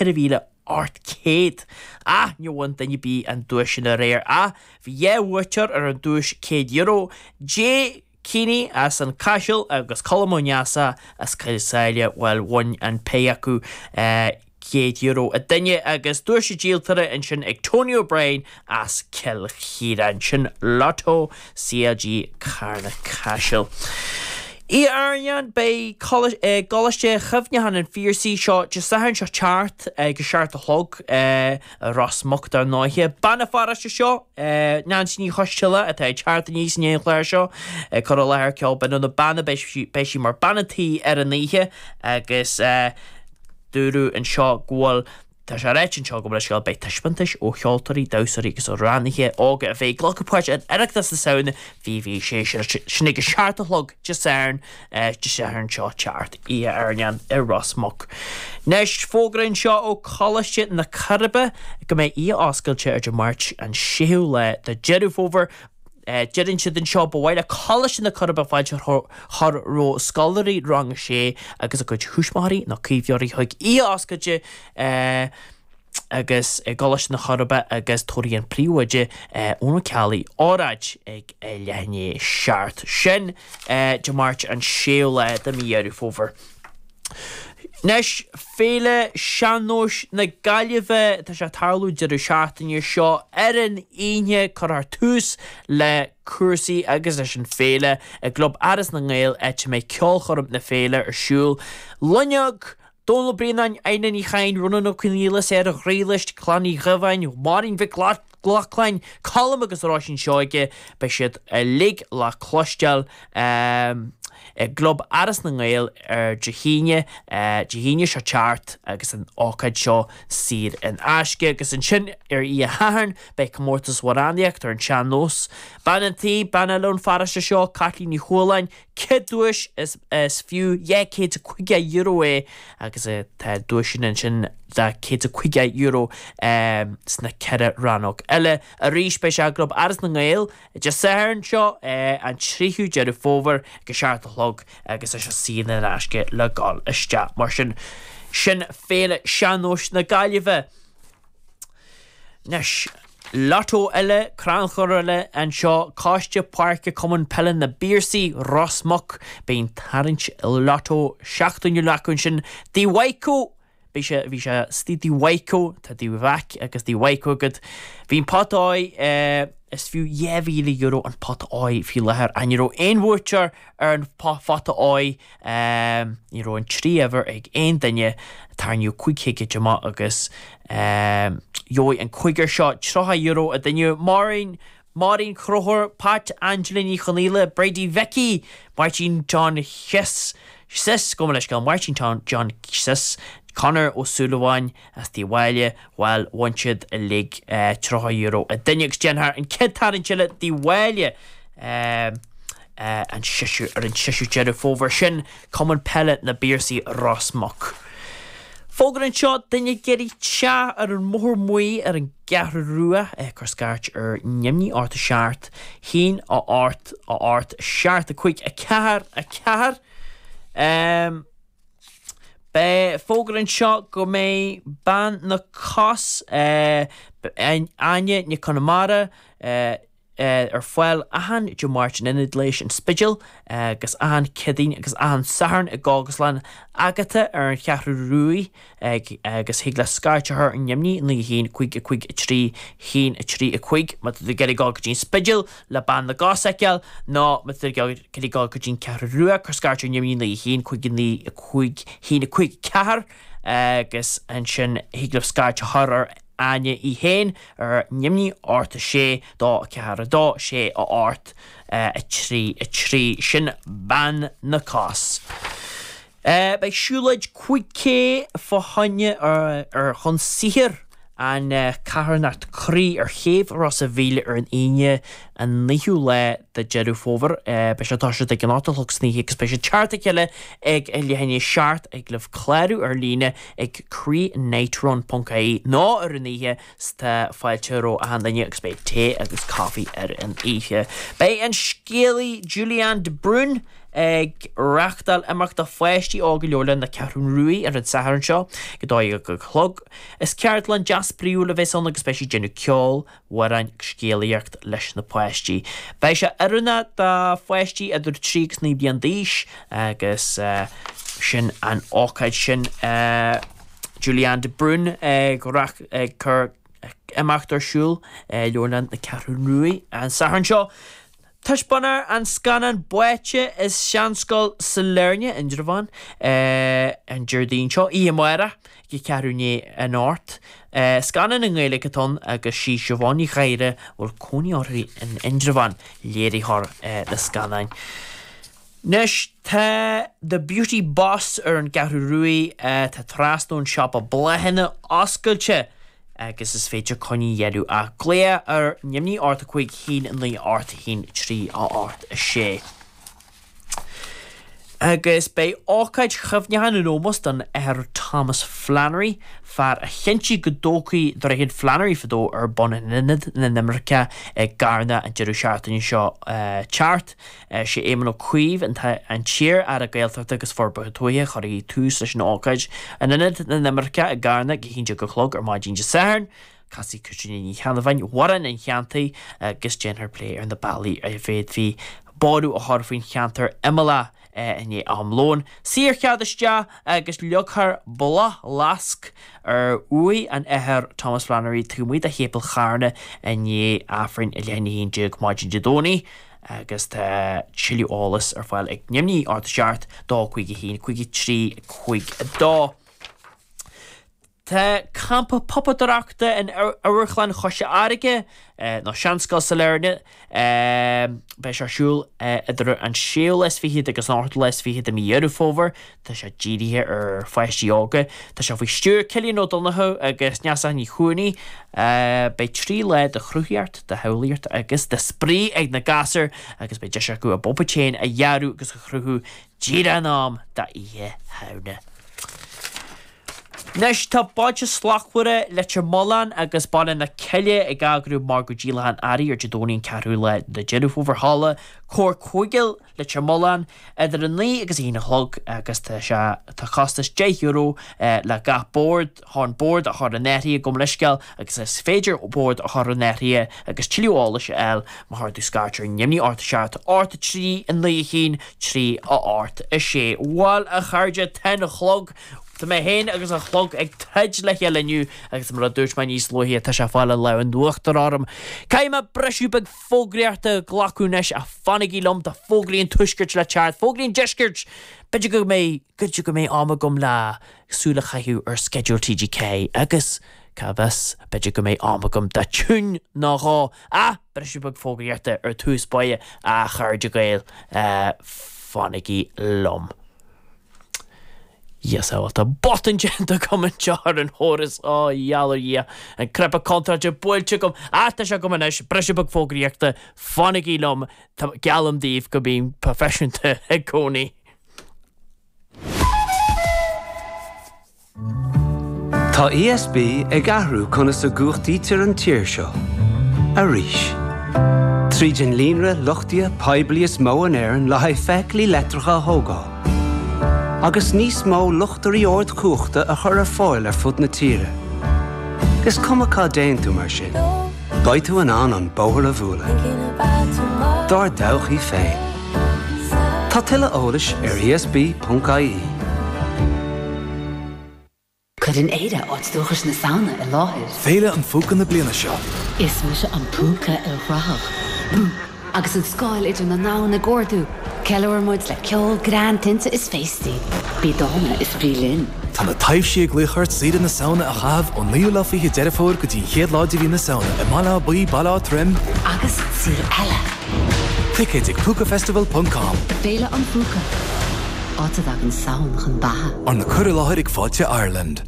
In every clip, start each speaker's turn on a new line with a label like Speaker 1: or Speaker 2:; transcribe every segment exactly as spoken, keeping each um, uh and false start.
Speaker 1: ceithre mhíle ocht céad. Ach níor bhain duine ar bith an duais sin aréir ach bhí dhá bhuaiteoir ar an duais céad euro, Jay Keaney as an Caiseal agus Colm Ó Neasa as Coill Sáile, bhuel bhain an péire acu céad euro an duine agus duais an díoltóra ansin ag Tony O'Brien as Cill Chiaráin. Sin Lotto C L G Carna Caiseal. Oíche Airneáin, beidh i gColáiste Chuimhneacháin an Phiarsaigh seo Dé Sathairn seo teacht ag a seacht a chlog i Ros Muc dar ndóighe. Bean an pharóiste seo, Neansaí Ní Choisdealbha, atá ag teacht aníos i ndiaidh an chláir seo ag cur i láthair ceol binn ó na beanna, beidh sí mar bean an tí ar an oíche agus dúradh anseo go bhfuil Tá sé ráite anseo go bhfuil scéal beidh taispeántais ó cheoltóirí, damhsóirí agus amhránaithe óga a bheidh ag glacadh páirt in Oireachtas na Samhna fiche fiche a sé, sin ag a seacht a chlog Dé Sathairn, Dé Sathairn seo teacht, Oíche Airneáin i Ros Muc. Anois, fógra anseo ó Choláiste na Coiribe go mbeidh oíche oscailte ar Dé Máirt an séú lá de Deireadh Fómhair. Deireann siad anseo, ba mhaith le Coláiste na Coiribe fáilte a chur roimh scoláirí rang a sé agus a gcuid thuismitheoirí nó caomhnóirí chuig oíche oscailte agus i gColáiste na Coiribe agus tabharfaidh an príomhoide Eoin Ó Ceallaigh óráid ag leath i ndiaidh a seacht. Sin Dé Máirt an séú lá de mhí Dheireadh Fómhair. Anois, Féile Sean-Nóis na Gaillimhe, tá sé ag tarlú deireadh seachtaine seo ar an Aoine, cuirfear tús le cúrsaí agus leis an féile i gClub Áras na nGael áit a mbeidh ceolchoirm na féile ar siúl. Loinneog, Dónal Ó Braonáin, Adhna Ní Chadhain, Rónán Ó Conghaile, Sarah Ghriallais, Clann Uí Dhubháin, Máirín Mhic Lochlainn, Colm agus Róisín Seoige, beidh siad uilig le cloisteáil. I gClub Áras na nGael ar Dé hAoine, Dé hAoine seo teacht agus an ócáid seo saor in aisce. Agus ansin ar Oíche Shathairn beidh comórtas amhránaíocht ar an sean-nós. Bean an tí, bean eile ón pharóiste seo, Caitlín Ní Chualáin, céad duais is is fiú dhá chéad is caoga euro é agus tá duaiseanna ansin de céad is caoga euro sna ceithre rannóg eile. Arís beidh sé i gClub Áras na nGael Dé Sathairn seo, an tríú Deireadh Fómhair ag a seacht a chlog agus tá sé saor in aisce le dhul isteach. Mar sin, sin Féile Sean-Nóis na Gaillimhe. Anois, Lotto eile, crannchur eile anseo, Coiste Páirce Cumann Peile na bPiarsaigh, Ros Muc. Beidh an tarraingt Lotto seachtainiúil acu ansin. Tigh Mhaidhcó! Bhí sé, bhí sé istigh Tigh Mhaidhcó, tá Tigh Mhaidhc agus Tigh Mhaidhcó agat. Bhí an pota óir, is fiú dhá mhíle euro an pota óir faoi láthair. Ach ní raibh aon bhuaiteoir ar an phota óir, ní raibh an trí uimhir ag aon duine. Tarraingíodh cúig thicéad amach agus gheobhaidh an cúigear seo tríocha euro an duine. Máirín, Máirín Chonchúir, Pat, Angela Ní Chonaola, Bridie Mhicí, Máirtín John Chiss, Sis, gabh mo leithscéal, Máirtín John Sis, Conor Ó Súilleabháin as Tigh Mháille, bhuel, bhain siad uilig tríocha euro an duine agus déanfar an chéad tarraingt eile Tigh Mháille an seisiú, ar an seisiú Deireadh Fómhair sin, Cumann Peile na bPiarsaigh, Ros Muc. Fógra anseo, duine ag iarraidh teach ar an mBóthar Muí ar an gCeathrú Rua, cuir scairt ar neamhní ocht a seacht, haon a ocht a ocht seacht a cúig a ceathair a ceathair. Beidh fógra anseo go mbeidh bean na cos, Áine Nic Conmara, ar fáil achan Dé Máirt in Ionad Leighis an Spidéil agus achan Céadaoin agus achan Satharn i gCógaslann Agatha ar an Cheathrú Ruaidh agus thig leat scairt a chur ar neamhní naoi a haon cúig a cúig a trí haon a trí a cúig má tá tú ag iarraidh dul go dtí an Spidéal le bean na gcos a fheiceáil nó má tá tú ag iarraidh dul go dtí an Cheathrú Rua cuir scairt ar neamhní naoi a haon cúig a naoi a cúig haon a cúig ceathair agus ansin thig libh scairt a chur ar Áine í féin ar neamhní ocht a sé dó a ceathair a dó sé a ocht a trí a trí. Sin bean na gcos. Beidh siúlóid cúig K fá choinne ar chun saothair an carthanacht croí ar chéibh Ros a' Mhíl ar an Aoine an naoú lá de Deireadh Fómhair. Beidh sé ag toiseacht ag an ocht a chlog san oíche agus beidh sé ag teacht a chéile ag a leath i ndiaidh a seacht. Thig libh clárú ar líne ag croínightrun ponc ie nó ar an oíche 's tá fáilte roimh achan duine agus beidh tae agus caife ar an oíche. Beidh an scéalaí Julianne de Brún ag reáchtáil imeacht do pháistí óga Leabharlann na Ceathrún Rua ar an Satharn seo ag a dó dhéag a chlog. Is ceardlann deas spraíúil a bheas ann agus beidh siad ag déanamh ceol, amhráin agus scéalaíocht leis na páistí. Beidh sé oiriúnach do pháistí idir trí agus naoi bliain d'aois agus sin an ócáid sin. Julianne de Brún ag ag cur imeacht ar siúl Leabharlann na Ceathrún Rua an Satharn seo. Taispeánfar an scannán Báite i Seanscoil Sailearna, Indreabhán, an Déardaoin seo, oíche amárach, ag a ceathrú i ndiaidh a hocht. Scannán i nGaeilge atá ann agus sí Siobhán Ní Ghadhra, a bhfuil cónaí uirthi in Indreabhán, léiritheoir na scannáin. Anois tá The Beauty Boss ar an gCeathrú Rua, tá trasna ón siopa bláthanna oscailte agus is féidir coinní a dhéanamh ach glaoch ar neamhní ocht a cúig haon naoi ocht haon trí a ocht a sé. Agus beidh ócáid chuimhneacháin in ómós don Athair Thomas Flannery, fear a chinntigh go dtógfaí Droichead Flannery fadó ar bun in Ionad na nImirceach i gCarna an deireadh seachtaine seo teacht. Sé Éamon Ó Cuív an t-iar-Aire Gaeltachta agus Forbartha Tuaithe a chuirfidh tús leis an ócáid in Ionad na nImirceach i gCarna ag a haon déag a chlog ar maidin Dé Sathairn. Casfaidh Caitríona Ní Cheannabháin amhrán an cheantair agus déanfar plé ar na bealaí a bhféadfaí borradh a chur faoin cheantar imeallach i ndiaidh am lóin. Saorchead isteach agus leagfar bláthfhleasc ar uaigh an Athar Thomas Flannery taobh amuigh de Shéipéal Charna i ndiaidh Aifrinn i leath i ndiaidh a haon déag maidin Dé Domhnaigh agus tá tuilleadh eolais ar fáil ag neamhní ocht a seacht dó cúig a haon cúig a trí cúig a dó. Tá campa puipéadóireachta in Amharclann Chois Fharraige, nó Seanscoil Sailearna, beidh sé ar siúl idir an séú lá is fichead agus an ochtú lá is fiche de mhí Dheireadh Fómhair. Tá sé dírithe ar pháistí óga. Tá sé faoi stiúir Cillian Ó Donnchú agus Neasa Ní Chuanaigh. Beidh trí lá de chruthaíocht, de shamhlaíocht agus de spraoi ag na gasúir agus beidh deis acu a bpuipéid féin a dhearadh agus a chruthú díreach in am d'Oíche Shamhna. Anois tá Bailte Slachtmhara Leitir Mealláin agus Baile na Cille ag eagrú margadh díolachán earraí ar Dé Domhnaigh an ceathrú lá de Deireadh Fómhair Halla Comhar Cúige Leitir Mealláin idir a naoi agus a haon a chlog agus tá sé tá costas deich euro le gach bord chun bord a chur in áirithe gabh mo leithscéal agus is féidir bord a chur in áirithe agus tuilleadh eolais a fháil má chuir tú scairt ar neamhní ocht a seacht ocht a trí a naoi a haon trí a ocht a sé. Bhuel a chairde tá an clog Tá mé féin agus an clog ag troid le chéile inniu agus mar a dúirt mé níos luaithe tá sé ag fáil an lámh in uachtar orm. Caithfidh mé briseadh beag fógraíochta a ghlacadh anois ach fanaigí liom tá fógraí an tuaiscirt le teacht, fógraí an deiscirt! B'fhéidir go mbeidh, b'fhéidir go mbeidh am agam le súil a chaitheamh ar sceideal T G Ceathair agus cá bhfios, b'fhéidir go mbeidh am agam do tiún nó dhó. Ach briseadh beag fógraíochta ar tús báire, a chairde Gael, fanaigí liom. Dhia sábháil, tá botún déanta agam anseo ar an chóras, ó gheall ar Dhia, an cnaipe contráilte buailte agam, ach tá sé agam anois, briseadh beag fógraíochta, fanaigí liom, geallaim daoibh go mbím proifisiúnta i gcónaí.
Speaker 2: Tá E S B ag athrú conas a gcumhachtaítear an tír seo. Arís. Tríd an líonra luchtaithe poiblí is mó in Éirinn le haghaidh feithiclí leictreacha a thógáil. Agus níos mó luchtairí ardchumhachta a chur ar fáil ar fud na tíre. Is cuma cá dtéann tú mar sin, beidh tú in ann an bóthar a bhualadh. Dár dtodhchaí féin. Tá tuilleadh eolais ar E S B ponc I E.
Speaker 3: Cuireann Éire áit dúchais na Samhna i láthair.
Speaker 4: Féile an Phúca na bliana seo.
Speaker 3: Is mise an púca ilchruthach. Agus an scáil idir na ndomhan ag ardú, ceiliúrann muid le ceol, greann, tinte is féastaí. Bí dána is bí linn.
Speaker 4: Tá na taibhsí ag glaoch ort saoire na Samhna a chaitheamh ón naoú lá fiche Deireadh Fómhair go dtí an chéad lá de mhí na Samhna i mBaile Átha Buí, Baile Átha Troim
Speaker 3: agus saol eile.
Speaker 4: Ticéid ag púca festival ponc com.
Speaker 3: Féile an Phúca. Áit a dtagann Samhain chun beatha.
Speaker 4: Arna cur i láthair ag Fáilte Ireland.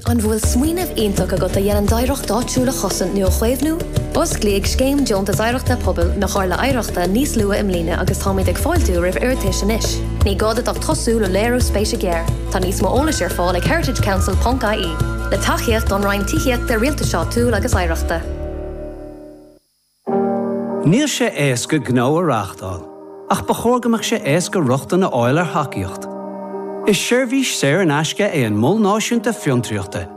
Speaker 5: An bhfuil smaoineamh iontach agat a dhéanann d'oidhreacht áitiúil a chosaint nó a chaomhnú? Osclaíodh Scéim Deontas Oidhreachta Pobail na Comhairle Oidhreachta níos luaithe i mbliana agus táimid ag fáiltiú roimh iarratais anois. Ní gá duit ach tosú le léiriú spéise géar. Tá níos mó eolais ar fáil ag heritage council ponc I E. Le tacaíocht ón Roinn Tithíochta, Rialtais Áitiúil agus Oidhreachta.
Speaker 2: Níl sé éasca gnó a reáchtáil, ach ba chóir go mbeadh sé éasca rochtain a fháil ar thacaíocht. Is seirbhís saor in aisce é an Mol Náisiúnta Fiontraíochta,